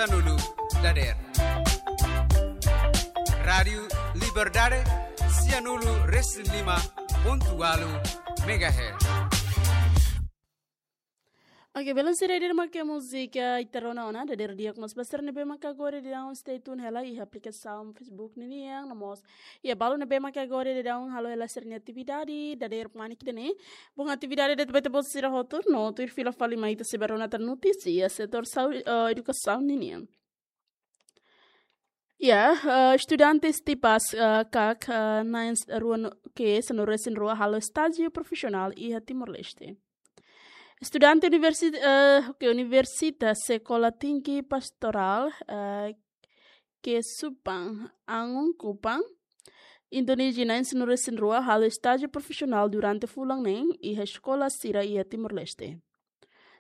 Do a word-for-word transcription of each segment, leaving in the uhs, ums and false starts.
Sianulu dadeer. Rádiu Liberdade, sianulu resin lima pontu ualu megahertz. Oke, belun sira, ida-ne'e mak múzika ita rona ona, dadeer di'ak mós ba sira ne'ebé maka agora daudaun stay tune hela iha aplikasaun Facebook ninian, no mós iha balu ne'ebé maka agora daudaun halo hela sira-nia atividade, dadeer manik ida-ne'e. Bom, atividade ida ba ita-boot sira hotu, no tuir fila fali mai ita sei bá rona tan notísia setór saúde, eh, edukasaun ninian. Ya, eh, estudante tipas, eh, kak, eh, na'in rua no, ke sanulu resin rua halo estájiu profisionál iha Timor-Leste. Estudante universi-, eh, ke Universitas Sekolah Tinggi Pastorál, eh, Kesupan, Angun, Kupang, Indonézia na'in sanulu resin rua halo estájiu profisionál durante fulan neen iha eskola sira iha Timor-Leste.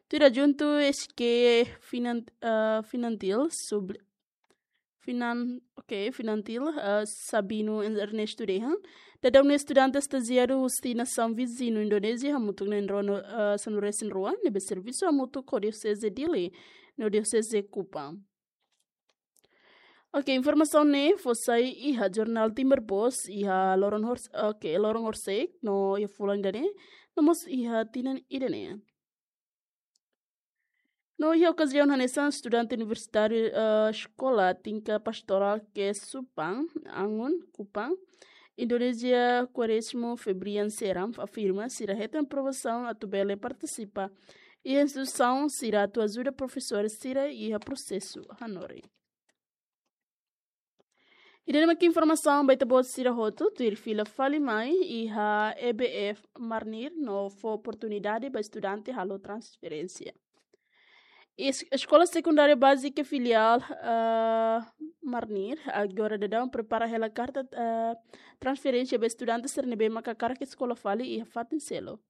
Tuir adjuntu S K Finan-, eh, Finantil, sub-, Finan-, oke, Finantil, eh, Sabino Ernesto dehan, daudaun ne'e estudante estajiadu husi nasaun viziñu Indonézia hamutuk na'in rua no, eh, sanulu resin rua, ne'ebé servisu hamutuk ho Dioseze Dili no Dioseze Kupang. Oke, informasaun ne'e fó sai iha jornál Timor Post, iha loron hors-, oke, loron horisehik, no iha fulan ida-ne'e, no mós iha tinan ida-ne'e. No iha okaziaun hanesan, estudante universitáriu, eh, Sekolah Tinggi Pastorál Kesupan, Angun, Kupang, Indonézia, Quaresmo Febrian Seram, afirma sira hetan aprovasaun atu bele partisipa iha instituisaun sira atu ajuda profesór sira iha prosesu hanorin. Ida-ne'e mak informasaun ba ita-boot sira hotu, tuir fila fali mai iha E B F Marnir no fó oportunidade ba estudante halo transferénsia. Es-, Eskola Sekundária Bázika Filiál, eh, Marnir, agora daudaun prepara hela karta, eh, transferénsia ba estudante sira ne'ebé maka hakarak eskola fali iha fatin seluk.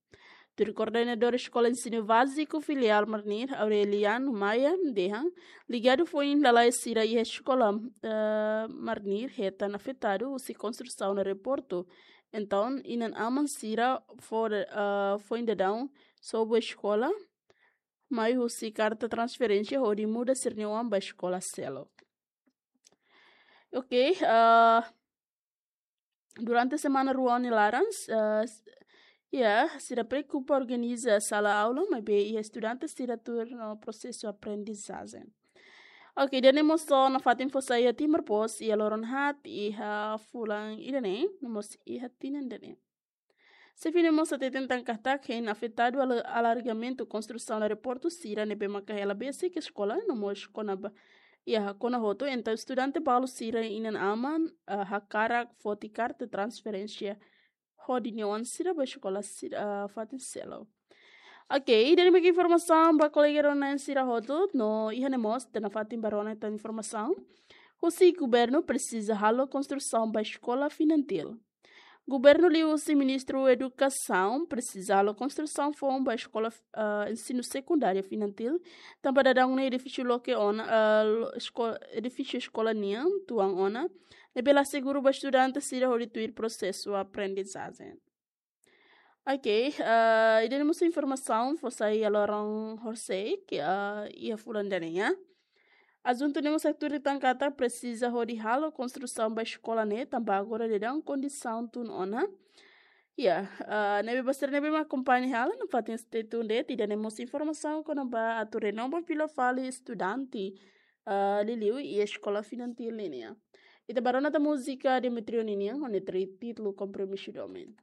Tuir koordenadór Eskola Ensinu Báziku Filiál Marnir, Aureliano Maia, dehan, ligadu foin lalais sira iha eskola, eh, Marnir hetan afetadu husi konstrusaun aeroportu. Entaun, inan-aman sira fó, eh, foin daudaun sobu eskola mai husi karta transferénsia hodi muda sira-nia oan ba eskola seluk. Oke, eh, durante semana rua nia laran, eh, s-, ya, sira preokupa organiza sala aula, maibé iha estudante sira tuur no prosesu aprendizajen. Oke, ida-ne'e mós nafatin fó sai iha Timor Post, iha loron haat, iha fulan ida-ne'e, no mós iha tinan ida-ne'e. Xefe ne'e mós hateten tan katak hein afetadu ala-, alargamentu konstrusaun aeroportu sira ne'ebé maka hela besik eskola, no mós kona-ba, ya, kona hotu, entaun estudante balu sira inan-aman, eh, hakarak foti karta transferénsia hodi nia oan sira ba eskola sira, eh, fatin seluk. Oke, ida-ne'e mak informasaun ba kolega rona-na'in sira hotu, no iha ne'e mós ita nafatin bá rona tan informasaun. Husi governu presiza halo konstrusaun ba eskola Finantil. Governu liuhusi Ministru Edukasaun presiza halo konstrusaun foun ba eskola, eh, ensinu sekundáriu Finantil, tanba daudaun ne'e edifísiu loke ona, eh, lo-, esko-, edifísiu eskola nian tuan ona, ne'ebé la seguru ba estudante sira hodi tuir prosesu aprendizajen. Oke, eh, ida-ne'e mós informasaun fó sai iha loron horisehik, eh, iha fulan ida-ne'e. Adjuntu ne'e mós hatete tan katak presiza hodi halo konstrusaun ba eskola ne'e, tanba agora daudaun kondisaun tun ona. Ya, eh, ne'ebé ba sira ne'ebé mak akompaña hela, nafatin stay tuned de'it, ida-ne'e mós informasaun kona-ba atu renova fila fali estudante, eh, liuliu iha eskola Finantil nian. Ita bá rona tan múzika Demetrio ninian, ho nia títulu Kompromisu Domin.